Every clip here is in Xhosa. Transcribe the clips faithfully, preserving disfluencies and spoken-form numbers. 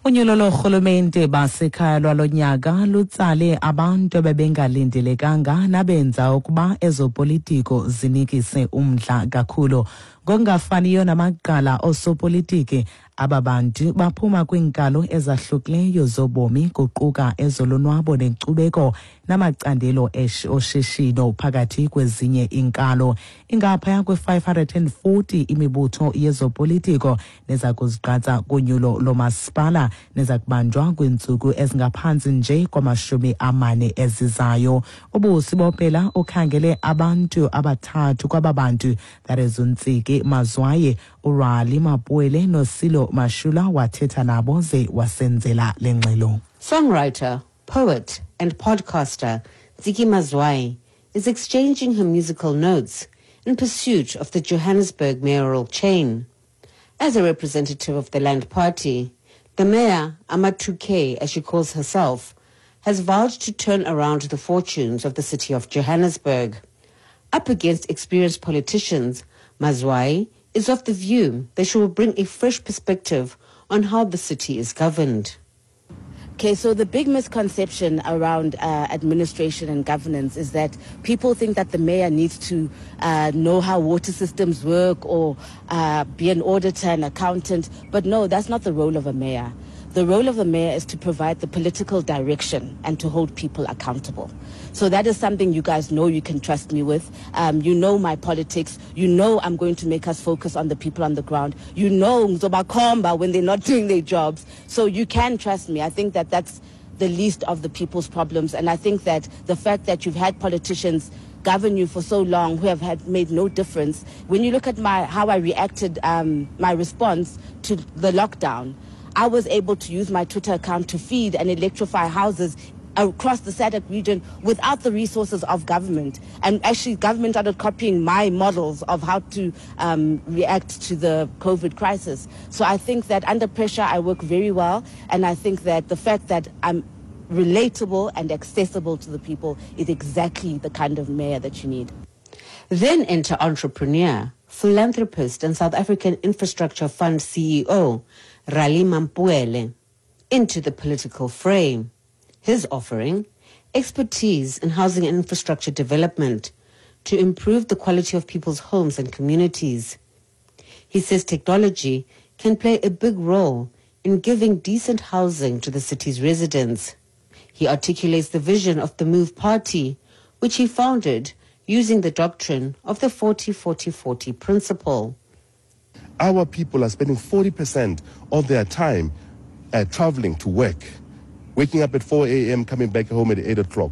Unyulo lorhulumente basekhaya lwalo nyaka lutsale abantu abebengalindelekanga nabenza ukuba ezopolitiko zinikise umdla kakhulu. Ngokungafaniyo namaqala oosopolitiki, aba bantu baphuma kwiinkalo ezahlukileyo zobomi, kuquka ezolonwabo nenkcubeko namacandelo oshishino phakathi kwezinye iinkalo. Ingaphaya kwe-five hundred and forty imibutho yezopolitiko neza kuzigqatsa kunyulo lomasipala neza kubanjwa kwiintsuku ezingaphantsi nje kwamashumi amane ezizayo. UBusi Bopela ukhangele abantu abathathu kwaba bantu, that is uNtsiki Mazwai, uRali Mapuele noSilo Mashula, wathetha nabo ze wasenzela le ngxelo. Songwriter, poet and podcaster Ntsiki Mazwai is exchanging her musical notes in pursuit of the Johannesburg mayoral chain. As a representative of the Land Party, the mayor, Ama two K, as she calls herself, has vowed to turn around the fortunes of the city of Johannesburg. Up against experienced politicians, Mazwai is of the view that she will bring a fresh perspective on how the city is governed. Okay, so the big misconception around, uh, administration and governance is that people think that the mayor needs to, uh, know how water systems work or, uh, be an auditor and accountant. But no, that's not the role of a mayor. The role of the mayor is to provide the political direction and to hold people accountable. So that is something you guys know you can trust me with. Um, you know my politics. You know I'm going to make us focus on the people on the ground. You know Nzobakomba when they're not doing their jobs. So you can trust me. I think that that's the least of the people's problems. And I think that the fact that you've had politicians govern you for so long who have had made no difference. When you look at my how I reacted, um, my response to the lockdown, I was able to use my Twitter account to feed and electrify houses across the SADC region without the resources of government. And actually, government started copying my models of how to, um, react to the COVID crisis. So I think that under pressure, I work very well. And I think that the fact that I'm relatable and accessible to the people is exactly the kind of mayor that you need. Then enter entrepreneur, philanthropist and South African Infrastructure Fund C E O, Rali Mampuele, into the political fray. His offering, expertise in housing and infrastructure development to improve the quality of people's homes and communities. He says technology can play a big role in giving decent housing to the city's residents. He articulates the vision of the Move Party, which he founded using the doctrine of the forty forty forty principle. Our people are spending forty percent of their time, uh, traveling to work, waking up at four A M, coming back home at eight o'clock.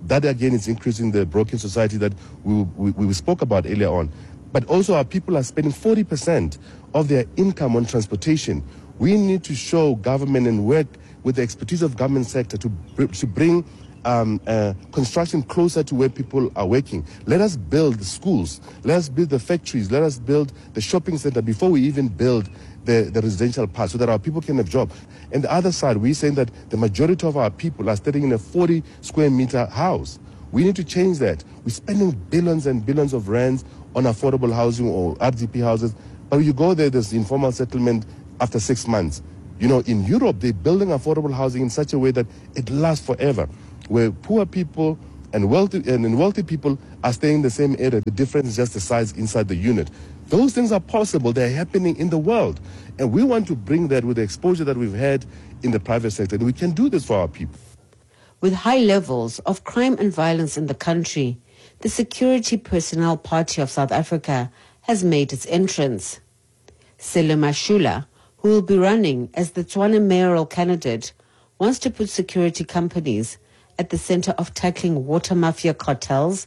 That again is increasing the broken society that we, we, we spoke about earlier on. But also our people are spending forty percent of their income on transportation. We need to show government and work with the expertise of government sector to, br-, to bring, um, uh, construction closer to where people are working. Let us build the schools, let us build the factories, let us build the shopping center before we even build the, the residential part so that our people can have jobs. And the other side, we're saying that the majority of our people are staying in a forty square meter house. We need to change that. We're spending billions and billions of rands on affordable housing or R D P houses, but you go there, there's informal settlement after six months. You know, in Europe, they're building affordable housing in such a way that it lasts forever, where poor people and wealthy, and wealthy people are staying in the same area. The difference is just the size inside the unit. Those things are possible. They're happening in the world. And we want to bring that with the exposure that we've had in the private sector. And we can do this for our people. With high levels of crime and violence in the country, the Security Personnel Party of South Africa has made its entrance. Sello Mashula, who will be running as the Tshwane mayoral candidate, wants to put security companies at the center of tackling water mafia cartels,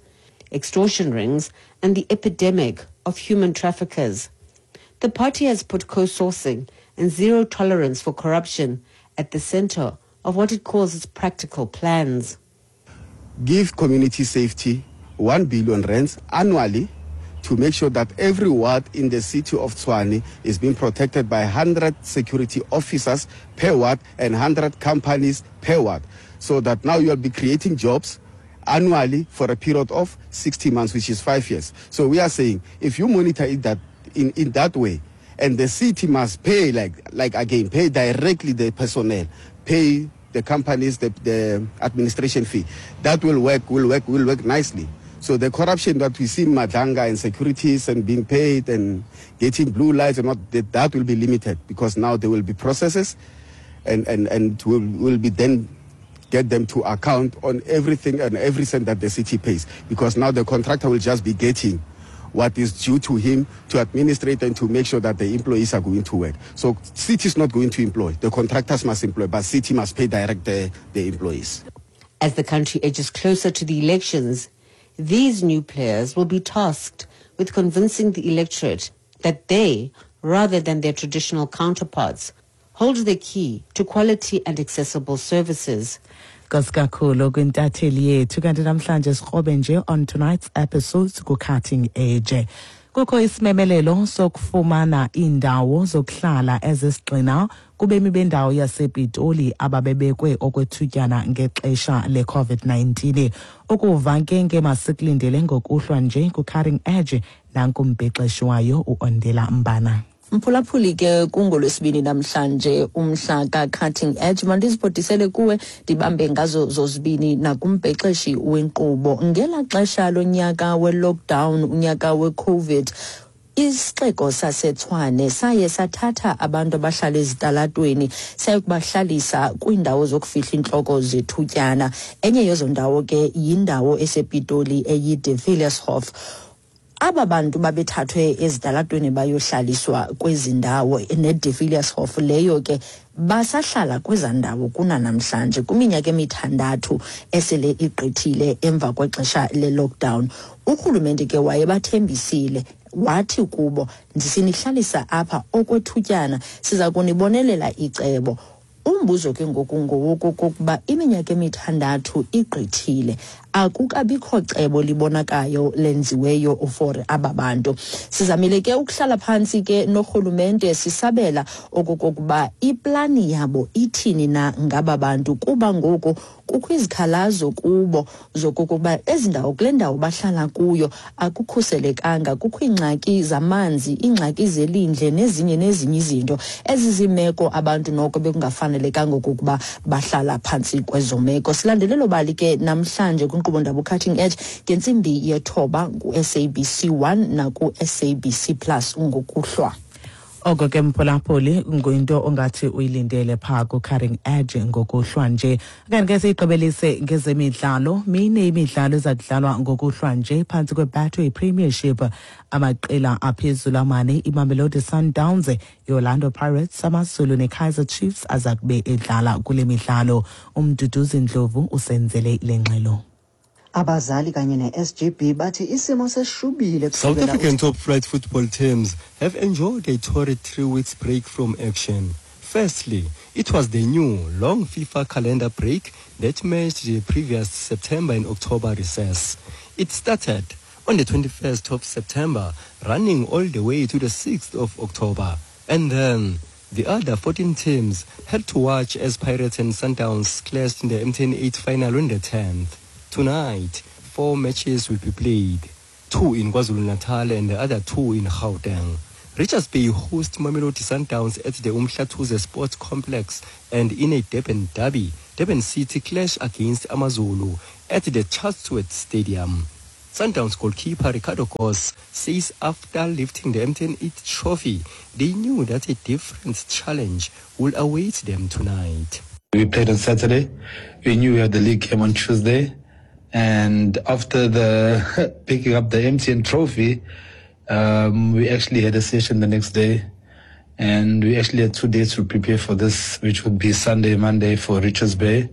extortion rings, and the epidemic of human traffickers. The party has put co-sourcing and zero tolerance for corruption at the center of what it calls its practical plans. Give community safety one billion rands annually to make sure that every ward in the city of Tshwane is being protected by hundred security officers per ward and hundred companies per ward, so that now you'll be creating jobs annually for a period of sixty months, which is five years. So we are saying if you monitor it that in, in that way And the city must pay, like, like again, pay directly the personnel, pay the companies the, the administration fee. That will work, will work, will work nicely. So the corruption that we see in Madlanga and securities and being paid and getting blue lights and what, that, that will be limited, because now there will be processes and, and, and will, will be then get them to account on everything and every cent that the city pays, because now the contractor will just be getting what is due to him to administrate and to make sure that the employees are going to work. So city is not going to employ. The contractors must employ, but city must pay direct the, the employees. As the country edges closer to the elections, these new players will be tasked with convincing the electorate that they, rather than their traditional counterparts, hold the key to quality and accessible services. Enkosi kakhulu kwintatheli yethu. Kanti namhlanje sikrobe nje on tonight's episodes ku-Cutting Edge. Kukho isimemelelo sokufumana iindawo zokuhlala ezisigxina kubemi bendawo yasePitoli ababebekwe okwethutyana ngexesha le-COVID nineteen. Ukuva ke ngemasikulindele ngokuhlwa nje ku-Cutting Edge, nankumbhexeshi wayo uOndela Mbana. Mphulaphuli ke kungolwesibini namhlanje umhla ka-Cutting Edge, mandiziphotisele kuwe ndibambe ngazo zozibini nakumbhexeshi wenkqubo. Ngela xesha lonyaka we-lockdown, unyaka we-COVID, isixeko saseTshwane saye sathatha abantu abahlala ezitalatweni sayokubahlalisa kwiindawo zokufihla intloko zethutyana. Enye yezo ndawo ke yindawo esePitoli eyi-De Villiers-Hof. Aba bantu babethathwe ezitalatweni bayohlaliswa kwezi ndawo ne-De Villiers-Hof leyo ke basahlala kweza ndawo kunanamhlanje kwiminyaka emithandathu esele igqithile emva kwexesha le-lockdown. Urhulumente ke wayebathembisile wathi kubo, ndisinihlalisa apha okwethutyana, siza kunibonelela icebo. Umbuzo ke ngoku ngowokokuba iminyaka emithandathu igqithile, akukabikho cebo libonakayo lenziweyo for aba bantu. Sizamile ke ukuhlala phantsi ke norhulumente sisabela okokuba iplani yabo ithini na ngaba bantu, kuba ngoku kukho izikhalazo kubo zokokuba ezi ndawo kule ndawo bahlala kuyo akukhuselekanga, kukho iingxaki zamanzi, iingxaki zelindle nezinye nezinye izinto. Ezi zimeko abantu noko bekungafanelekanga okokuba bahlala phantsi kwezo meko. Silandelelo bali ke namhlanje kwinkqubo ndaba Cutting Edge ngentsimbi yethoba ku-S A B C one naku-S A B C Plus ngokuhlwa. Oko ke mphulaphuli nguyinto ongathi uyilindele phaa ku-Cutting Edge ngokuhlwa nje. Kanti ke siyigqibelise ngezemidlalo. Mine imidlalo eza kudlalwa ngokuhlwa nje phantsi kweBetway Premiership. Amaqela aphezulu amane, iMamelodi Sundowns, i-Orlando Pirates, AmaZulu neKaizer Chiefs aza kube edlala kule midlalo. Umduduzi Ndlovu usenzele le ngxelo. Abazali kanye ne-S G B bathi isimo seshubile. South African top flight football teams have enjoyed a torrid three weeks break from action. Firstly, it was the new long FIFA calendar break that matched the previous September and October recess. It started on the twenty-first of September, running all the way to the sixth of October. And then the other fourteen teams had to watch as Pirates and Sundowns clashed in the M T N eight final on the tenth. Tonight, four matches will be played, two in KwaZulu-Natal and the other two in Gauteng. Richards Bay host Mamelodi Sundowns at the Umhlathuze Sports Complex, and in a Durban derby, Durban City clash against AmaZulu at the Chatsworth Stadium. Sundowns goalkeeper Ricardo Goss says after lifting the M T N eight trophy, they knew that a different challenge will await them tonight. We played on Saturday. We knew we had the league game on Tuesday. And after the picking up the M T N trophy, um, we actually had a session the next day. And we actually had two days to prepare for this, which would be Sunday, Monday for Richards Bay.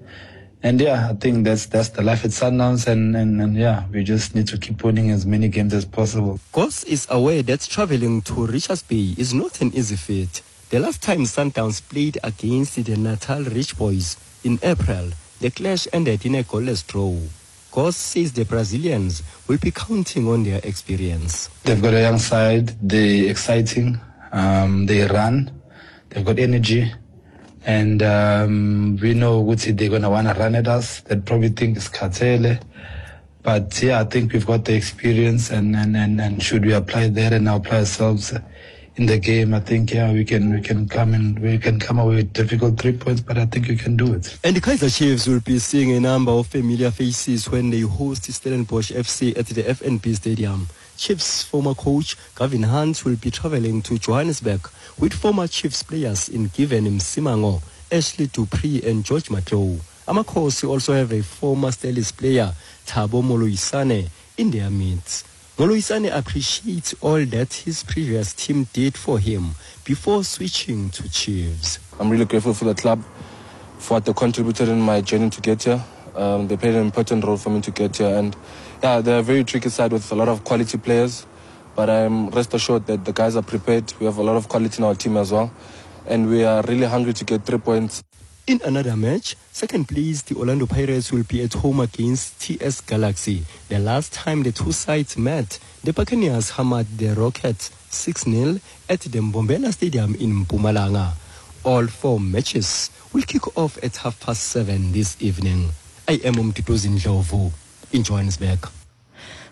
And yeah, I think that's that's the life at Sundowns, and, and, and yeah, we just need to keep winning as many games as possible. Goss is aware that traveling to Richards Bay is not an easy feat. The last time Sundowns played against the Natal Rich Boys in April, the clash ended in a goalless draw. Goss says the Brazilians will be counting on their experience. They've got a young side, they're exciting, um, they run, they've got energy. And um, we know Guti, they're going to want to run at us. They probably think it's Katele. But yeah, I think we've got the experience, and, and, and, and should we apply that and apply ourselves in the game, I think yeah we can we can come and we can come away with difficult three points, but I think you can do it. And the Kaizer Chiefs will be seeing a number of familiar faces when they host Stellenbosch F C at the F N B Stadium. Chiefs' former coach Gavin Hunt will be traveling to Johannesburg with former Chiefs players in Given Msimango, Ashley Dupree and George Matlou. Amakhosi also have a former Stellies player, Thabo Moloisane, in their midst. Moloisane appreciates all that his previous team did for him before switching to Chiefs. I'm really grateful for the club, for what they contributed in my journey to get here. Um, they played an important role for me to get here, and yeah, they're a very tricky side with a lot of quality players, but I'm rest assured that the guys are prepared. We have a lot of quality in our team as well, and we are really hungry to get three points. In another match, second place, the Orlando Pirates will be at home against T S Galaxy. The last time the two sides met, the Buccaneers hammered the Rockets six nil at the Mbombela Stadium in Mpumalanga. All four matches will kick off at half past seven this evening. I am Umtutuzi Ndlovu in Johannesburg.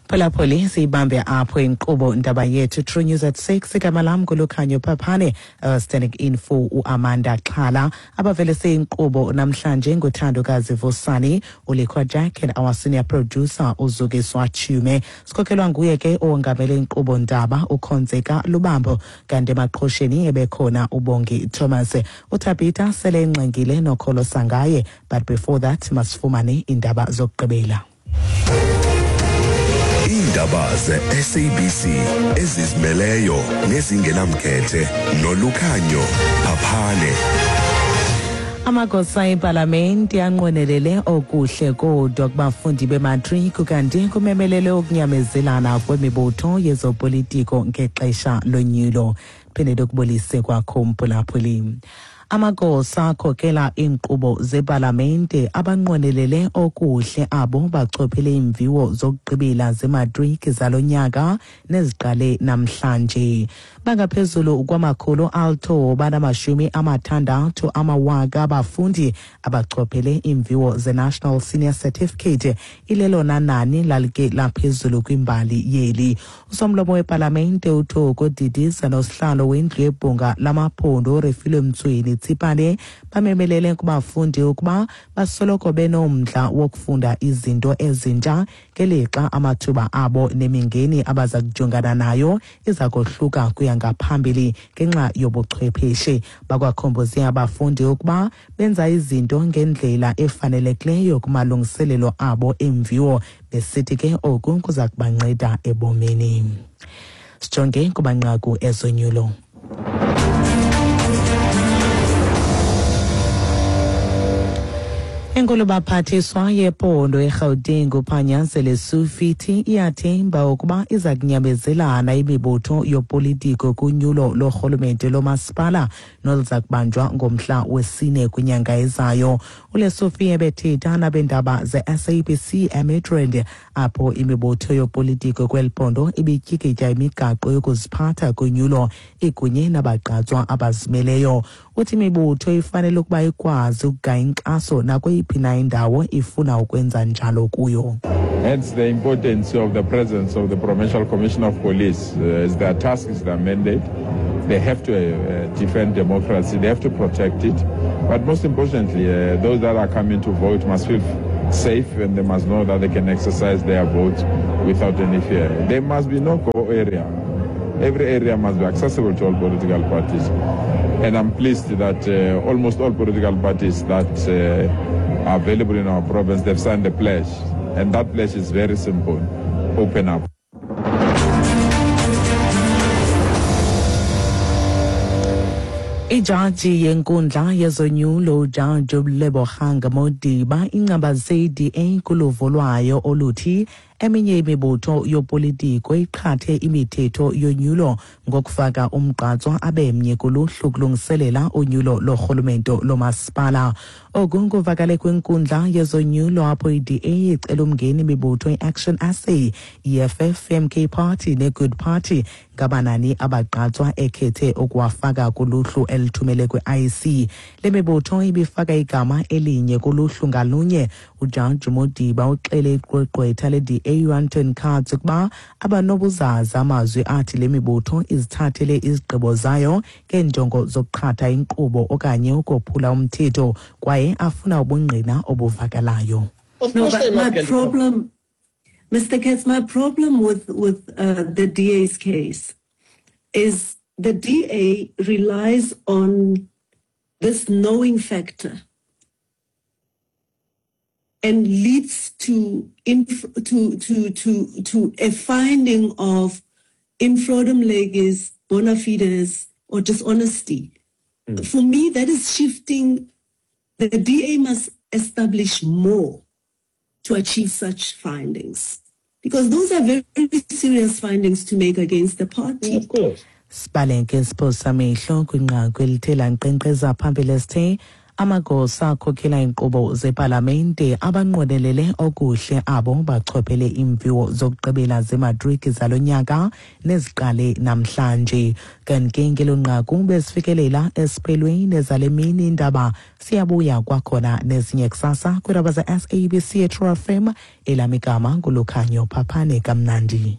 Phulaphuli, siyibambe apho inkqubo ndaba yethu True News at six. Igama lam nguLukhanyo Phaphane, uh, standing in for uAmanda Xhala. Abavelise inkqubo namhlanje nguThandokazi Vusani, uLikhwa Jack and our senior producer uZukiswa Chume. Sikhokhelwa nguye ke owongamele inkqubo ndaba uKhonzeka Lubambo, kanti emaqhosheni ebekhona uBongi Thomas. UThabitha sele engxengile nokholo sangaye, but before that masifumane indaba zokugqibela. Indaba ze-S A B C ezizimeleyo nezingenamkhethe noLukhanyo Phaphane. Amagosa epalamente anqwenelele okuhle kodwa kubafundi bematric, kanti kumemelele ukunyamezelana kwemibutho yezopolitiko ngexesha lonyulo. Phinde lokubulise kwakho mphulaphuli. Amagosa akhokela iinkqubo zepalamente abanqwenelele okuhle abo bachophele iimviwo zokugqibela zematriki zalo nyaka neziqale namhlanje. Bangaphezulu kwamakhulu alithoba namashumi amathandathu amawaka abafundi abachophele iimviwo ze-National Senior Certificate, ilelona nani lalike laphezulu kwimbali yeli. Usomlomo wepalamente uThoko Didiza nosihlalo wendlu yebhunga lamaphondo uRefilwe Mtsweni Tsipane bamemelele kubafundi ukuba basoloko benomdla wokufunda izinto ezintsha ngelixa amathuba abo nemingeni abaza kujongana nayo iza kohluka kuya ngaphambili ngenxa yobuchwepheshe. Bakwakhomboze abafundi ukuba benza izinto ngendlela efanelekileyo kumalungiselelo abo emviwo, besithi ke oku kuza kubanceda ebomini. Sijonge kumanqaku ezonyulo. Enkulu baphathiswa yephondo eGauteng uPanyaza Lesufi iyathemba ukuba iza kunyamezelana imibutho yopolitiko kunyulo lorhulumente lomasipala noluza kubanjwa ngomhla wesine kwinyanga ezayo. ULesufi ebethetha nabendaba ze-S A B C eMidrand, apho imibutho yopolitiko kweli phondo ibityikitya imigaqo yokuziphatha kunyulo ikunye nabagqatswa abazimeleyo. Uthi imibutho ifanele ukuba ikwazi ukugaya inkxaso nakweyiphi na indawo ifuna ukwenza njalo kuyo. Hence the importance of the presence of the Provincial Commissioner of Police. Uh, is their task, is their mandate. They have to uh, defend democracy, they have to protect it. But most importantly, uh, those that are coming to vote must feel safe and they must know that they can exercise their vote without any fear. There must be no go area. Every area must be accessible to all political parties. And I'm pleased that uh, almost all political parties that uh, are available in our province, they've signed the pledge. And that pledge is very simple: open up. Ijaji yenkundla yezonyulo uJaji uLebogang Modiba ingcambaze i-D A kuluvo lwayo oluthi eminye imibutho yopolitiko iqhathe imithetho yonyulo ngokufaka umgqatswa abemnye kuluhlu kulungiselela unyulo lorhulumento lomasipala. Oku kuvakale kwinkundla yezonyulo apho i-D A icela umngeni imibutho i-Action S A, E F F, M K Party ne-Good Party ngabanani abagqatswa ekhethe ukuwafaka kuluhlu elithumele kwi-I C. Le mibutho ibifaka igama elinye kuluhlu ngalunye. uJaji Modiba uxele igqwetha le-D A D A uAnton Katz ukuba abanobuzaza amazwi athi le mibutho izithathele izigqibo zayo ngeenjongo zokuqhatha inkqubo okanye ukophula umthetho, kwaye afuna ubungqina obuvakalayo. Of No, course but they must my get problem, Mister Katz, my problem with, with uh, the D A's case is the D A relies on this knowing factor and leads to, inf- to, to, to, to a finding of in fraudem legis, bona fides, or dishonesty. For me, that is shifting. The D A must establish more to achieve such findings, because those are very serious findings to make against the party. Of course. Sibaleke isiphosa amehlo kwinqaku elithe lankqenkqeza phambili esithe amagosa akhokhela iinkqubo zepalamente abanqwenelele okuhle abo bachophele iimviwo zokugqibela zematriki zalo nyaka neziqale namhlanje. Kanti ke ngelo nqaku besifikelela esiphelweni ezale mini indaba. Siyabuya kwakhona nezinye kusasa kwiindaba ze-S A B C True F M. Elam igama nguLukhanyo Phaphane. Kamnandi.